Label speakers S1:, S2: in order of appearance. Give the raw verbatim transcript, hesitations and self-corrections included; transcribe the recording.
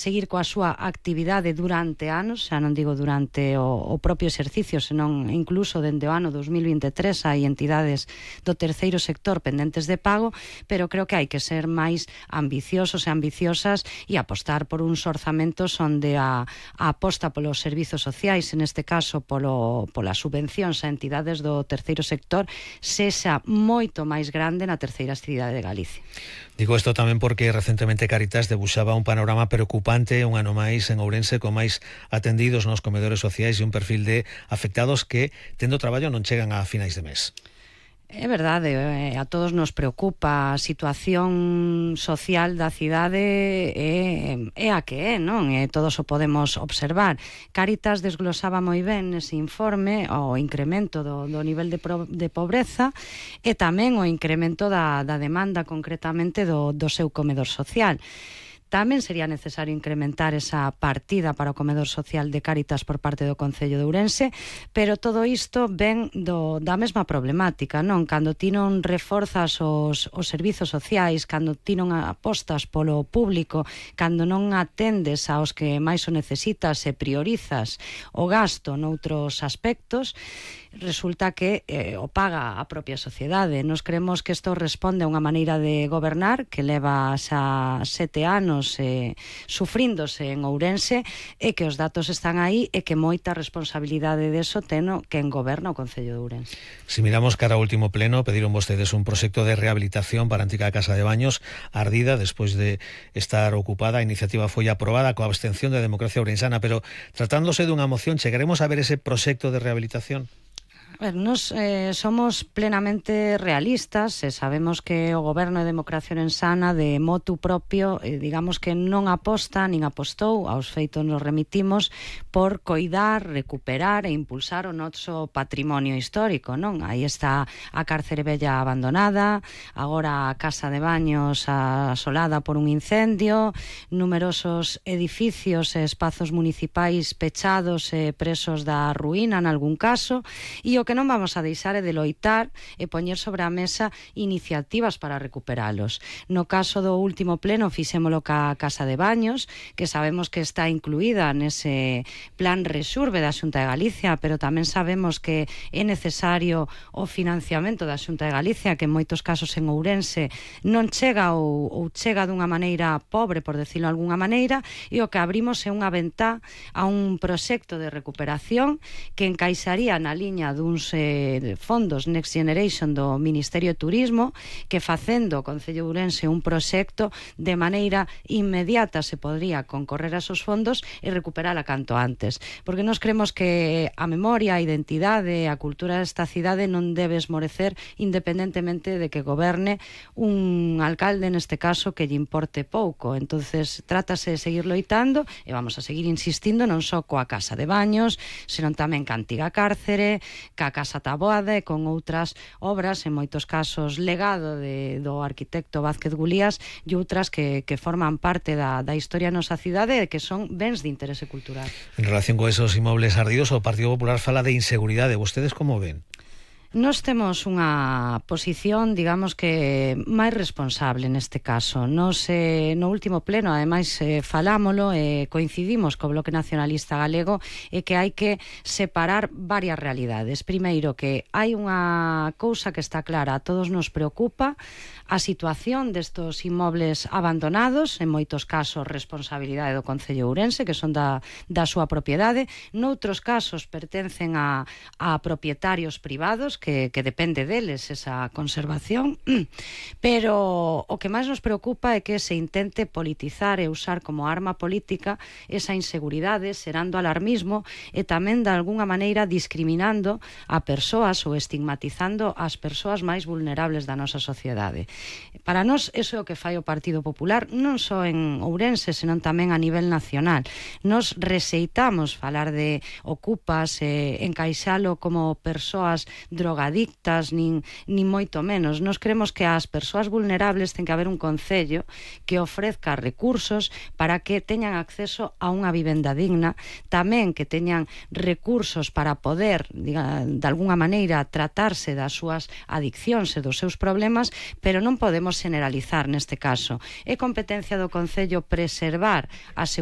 S1: seguir coa súa actividade durante anos, xa non digo durante o, o propio exercicio, senón incluso dende o ano dos mil vinte e tres hai entidades do terceiro sector pendentes de pago, pero creo que hai que ser máis ambiciosos e ambiciosas e apostar por uns orzamentos onde a, a aposta polos servizos sociais, en este caso polo, polas subvencións a entidades do terceiro sector, sexa moito máis grande na terceira cidade de Galicia.
S2: Digo isto tamén porque recentemente Cáritas debuxaba un panorama preocupante un ano máis en Ourense con máis atendidos nos comedores sociais e un perfil de afectados que, tendo traballo, non chegan a finais de mes.
S1: É verdade, a todos nos preocupa a situación social da cidade é, é a que é, non? E todos o podemos observar. Cáritas desglosaba moi ben nese informe o incremento do, do nivel de, pro, de pobreza e tamén o incremento da, da demanda concretamente do, do seu comedor social. Tamén sería necesario incrementar esa partida para o comedor social de Cáritas por parte do Concello de Ourense, pero todo isto ven do, da mesma problemática, non? Cando ti non reforzas os, os servizos sociais, cando ti non apostas polo público, cando non atendes aos que máis o necesitas e priorizas o gasto noutros aspectos, resulta que eh, o paga a propia sociedade. Nos creemos que isto responde a unha maneira de gobernar que leva xa sete anos eh, sufríndose en Ourense e que os datos están aí e que moita responsabilidade deso teno quen goberna o Concello de Ourense.
S2: Si miramos cara ao último pleno, pediron vostedes un proxecto de rehabilitación para a antiga Casa de Baños ardida despois de estar ocupada. A iniciativa foi aprobada coa abstención da democracia ourensana, pero tratándose dunha moción, chegaremos a ver ese proxecto de rehabilitación?
S1: A ver, nos eh, somos plenamente realistas e sabemos que o Goberno de Democracia Ourensana de motu propio, eh, digamos que non aposta, nin apostou, aos feitos nos remitimos, por coidar, recuperar e impulsar o noso patrimonio histórico, non? Aí está a cárcere vella abandonada, agora a Casa de Baños asolada por un incendio, numerosos edificios e espazos municipais pechados e presos da ruína, en algún caso, e o que non vamos a deixar é de loitar e poñer sobre a mesa iniciativas para recuperalos. No caso do último pleno fixémolo ca Casa de Baños, que sabemos que está incluída nese plan Resurbe da Xunta de Galicia, pero tamén sabemos que é necesario o financiamento da Xunta de Galicia, que en moitos casos en Ourense non chega ou, ou chega dunha maneira pobre, por decirlo de alguna maneira, e o que abrimos é unha ventá a un proxecto de recuperación que encaixaría na liña dun Eh, fondos Next Generation do Ministerio de Turismo, que facendo o Concello de Ourense un proxecto de maneira inmediata se podría concorrer a esos fondos e recuperala canto antes, porque nos creemos que a memoria, a identidade, a cultura desta cidade non debe esmorecer independentemente de que goberne un alcalde, neste caso, que lle importe pouco. Entonces trátase de seguir loitando e vamos a seguir insistindo non só coa Casa de Baños, senón tamén ca antiga cárcere, ca Casa Taboada e con outras obras, en moitos casos legado de, do arquitecto Vázquez Gulías e outras que, que forman parte da, da historia da nosa cidade e que son bens de interese cultural.
S2: En relación con esos inmobles ardidos, o Partido Popular fala de inseguridade. Vostedes como ven?
S1: Nos temos unha posición, digamos que máis responsable neste caso. Nos, eh, no último pleno, ademais, eh, falámolo e eh, coincidimos co Bloque Nacionalista Galego e que hai que separar varias realidades. Primeiro, que hai unha cousa que está clara, a todos nos preocupa a situación destos inmobles abandonados, en moitos casos responsabilidade do Concello de Ourense, que son da, da súa propiedade, noutros casos pertencen a, a propietarios privados, que, que depende deles esa conservación, pero o que máis nos preocupa é que se intente politizar e usar como arma política esa inseguridade, xerando alarmismo e tamén de alguna maneira discriminando a persoas ou estigmatizando as persoas máis vulnerables da nosa sociedade. Para nós, iso é o que fai o Partido Popular, non só en Ourense, senón tamén a nivel nacional. Nos rexeitamos falar de ocupas, eh, encaixalo como persoas drogadictas, nin, nin moito menos. Nos creemos que as persoas vulnerables ten que haber un concello que ofrezca recursos para que teñan acceso a unha vivenda digna, tamén que teñan recursos para poder, diga, de alguna maneira, tratarse das súas adiccións e dos seus problemas, pero non podemos generalizar neste caso. É competencia do Concello preservar a seguridade